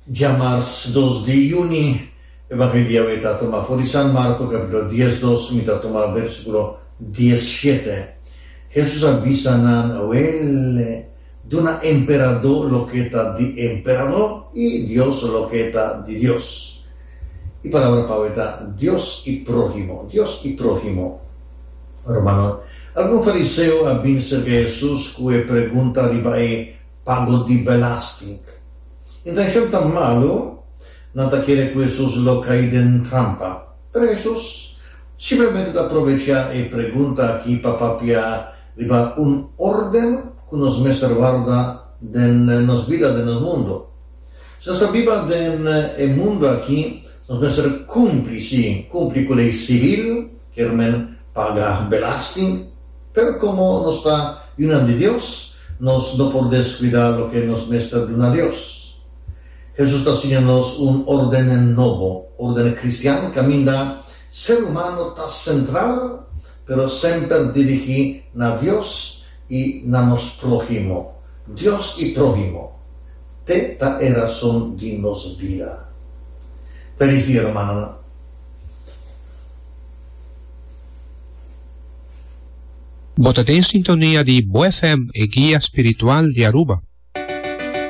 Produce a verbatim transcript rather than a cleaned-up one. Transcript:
Djamars dos di yüni, Evangelio awe ta tuma for di San Marko kapítulo diesdos, mi ta tuma versíkulo diesshete. Hesus a bisa nan, Wèl, duna emperadó loke ta di emperadó i Dios loke ta di Dios. E palabra pa awe ta Dios i próhimo, Dios i próhimo. Rumannan, algun fariseo a bin serka Hesus ku e pregunta riba e pago di belasting. Intenshon ta malu, nan ta kere ku Hesus lo kai den trampa. Pero Hesus simplemente ta probechá e pregunta aki pa papia riba un órden ku nos mester warda den nos bida, den nos mundu. Si nos ta biba den e mundu aki, nos mester kumpli, sí, kumpli ku lei sivil, kier men paga belasting, pero komo nos ta yunan di Dios, nos no por deskuidá loke nos mester duna Dios. Hesus ta siña nos un órden nobo, órden kristian kaminda ser humano ta sentral, pero semper dirigí na Dios i na nos próhimo. Dios i próhimo. Te ta e rason di nos bida. Felis dia, rumannan. Bo ta den sintonia di Bo F M, e guia spiritual di Aruba.